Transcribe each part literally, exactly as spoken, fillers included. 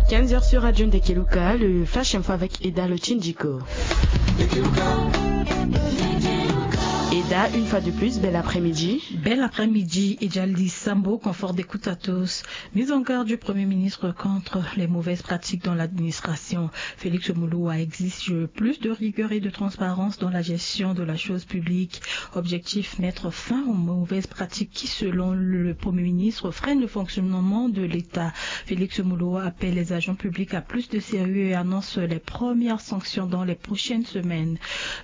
Quinze heures sur Radio Ndekeluka, le Flash Info avec Eda Lotindiko. Eda, une fois de plus, bel après-midi. Bel après-midi, Ejali Sambo, confort d'écoute à tous. Mise en garde du Premier ministre contre les mauvaises pratiques dans l'administration. Félix Moloua exige plus de rigueur et de transparence dans la gestion de la chose publique. Objectif, mettre fin aux mauvaises pratiques qui, selon le Premier ministre, freinent le fonctionnement de l'État. Félix Moloua appelle les agents publics à plus de sérieux et annonce les premières sanctions dans les prochaines semaines.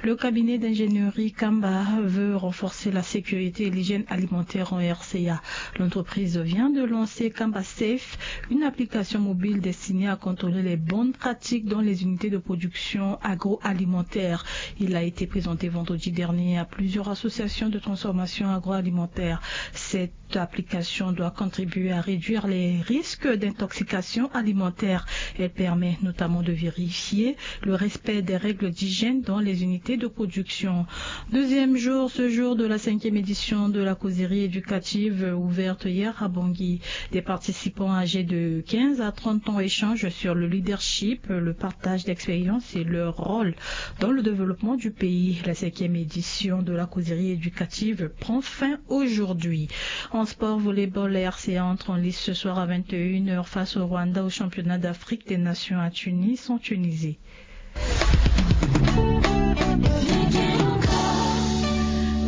Le cabinet d'ingénierie Kamba veut renforcer la sécurité et l'hygiène alimentaire en R C A. L'entreprise vient de lancer Kamba Safe, une application mobile destinée à contrôler les bonnes pratiques dans les unités de production agroalimentaire. Il a été présenté vendredi dernier à plusieurs associations de transformation agroalimentaire. Cette application doit contribuer à réduire les risques d'intoxication alimentaire. Elle permet notamment de vérifier le respect des règles d'hygiène dans les unités de production. Deuxième jour, ce jour de la cinquième édition de la causerie éducative ouverte hier à Bangui. Des participants âgés de quinze à trente ans échangent sur le leadership, le partage d'expériences et leur rôle dans le développement du pays. La cinquième édition de la causerie éducative prend fin aujourd'hui. En sport, volleyball, la R C A entre en lice ce soir à vingt et une heures face au Rwanda au championnat d'Afrique des Nations à Tunis, en Tunisie.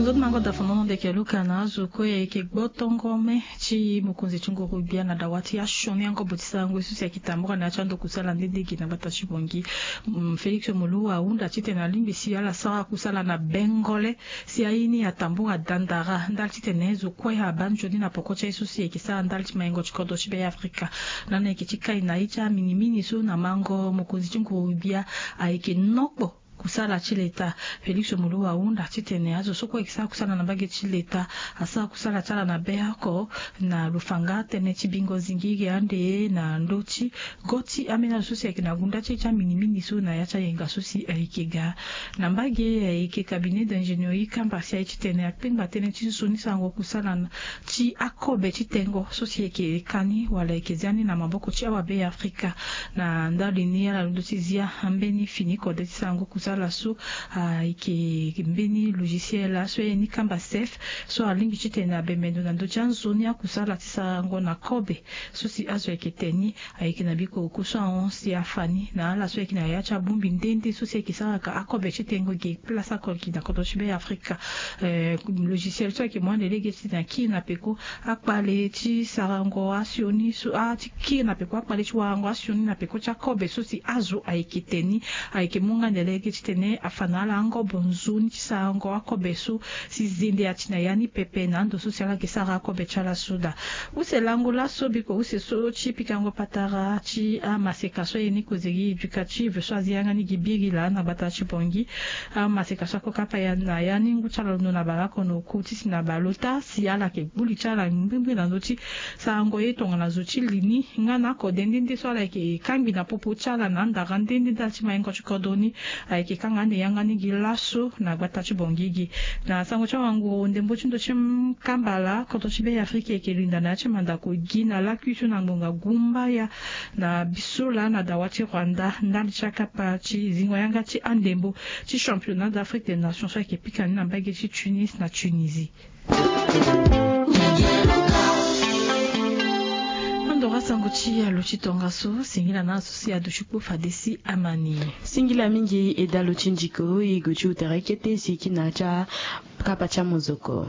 Nzoni mango da fonono ndeke luka na azo kue ayeke gbotongo me ti mokonzi ti nguru gbia na dawa ti asioni angobo ti sarango so si ayeke tambura na ya ti ando kusala nde nde gi na gbata ti Bangui. Mm, Félix Moloua ahunda titene alingbi si ala sara kusala na bengole si aye ni atambura dandara ndali titene zo kue abaa nzoni na poko ti aye so si ayeke sara ndali ti maingo ti kodro ti Be Afrika. Lani ayeke ti kai na ye ti aminimini so na mango mokonzi ti nguru gbia ayeke nokpo kusala ti leta. Félix Moloua ahunda titene azo so kue ayeke sara kusala na mbage ti leta asara kusala ti ala na be oko na lo fa nga tënë ti bingo zingi ge ande na ndö ti go ti ambeni azo so si ayeke na gunda ti ye ti aminimini so na ya ti ayenga so si ayeke ga. Na mbage ayeke cabinet d'ingénierie Kamba si aye titene akpengba tënë ti zo ni sarango kusala na ti akobe ti tengo so si ayeke ka ni wala ayeke zia ni na maboko ti awa Be Afrika. Na ndali ni ala londo ti zia ambeni fini kode ti sarango kusala so ayeke mbeni logiciel so aye ni Kamba Safe so alingbi titene abembe ndo na ndö ti anzoni akusala ti sarango na kobe so si azo ayeke te ni. Ayeke na bikoko so ahon si afa ni na ala so ayeke na ya ti abongbi nde nde so si ayeke saraka akobe ti tengo ge place oko gi na kodro ti Be Afrika. Eh, logiciel so ayeke mu ande lege ti na kiri na peko akpale ti sarango asioni so a ti kiri na peko akpale ti warango asioni na peko ti akobe so si azo ayeke te ni. Ayeke mu nga ande lege titene afa na ala angobo nzoni ti sarango akobe so si zende ati na ya ni pepe na ando so si ala yeke sara akobe ti ala so daa. Use lango laso biko use so ti pikango patara ti amaseka so aye ni causerie éducative so azi yanga ni gi biri laa na gbata ti Bangui. Amaseka so akokapa ya na ya ni ngu ti ala londo na baleoko na oku ti si na baleota si ala yeke gbu li ti ala ngbingbi na ndö ti sarango ye tongana zo ti li ni nga na akode nde nde so ala yeke kangbi na popo ti ala na andara nde nde ndali ti maingo ti kodro ni. Ayeke kanga ande yanga ni gi laso na gbata ti Bangui gi. Na sango ti awanguru ndembo ti ndo ti kambala kodro ti Be Afrika ayeke linda na ya ti mandako gi na lakui so na ngonga gumbaya na bisola na dawa ti Rwanda ndali ti akapa ti zingo yanga ti andembo ti championnat d'Afrique des nations so ayeke pika ni na mbage ti Tunis na Tunisie. Andora sango ti alo ti tongaso singila na aso si ado ti kpo fade si amani. Singila mingi e dalo ti ndiko e go ti utere kete si kina ti akapa ti amozoko.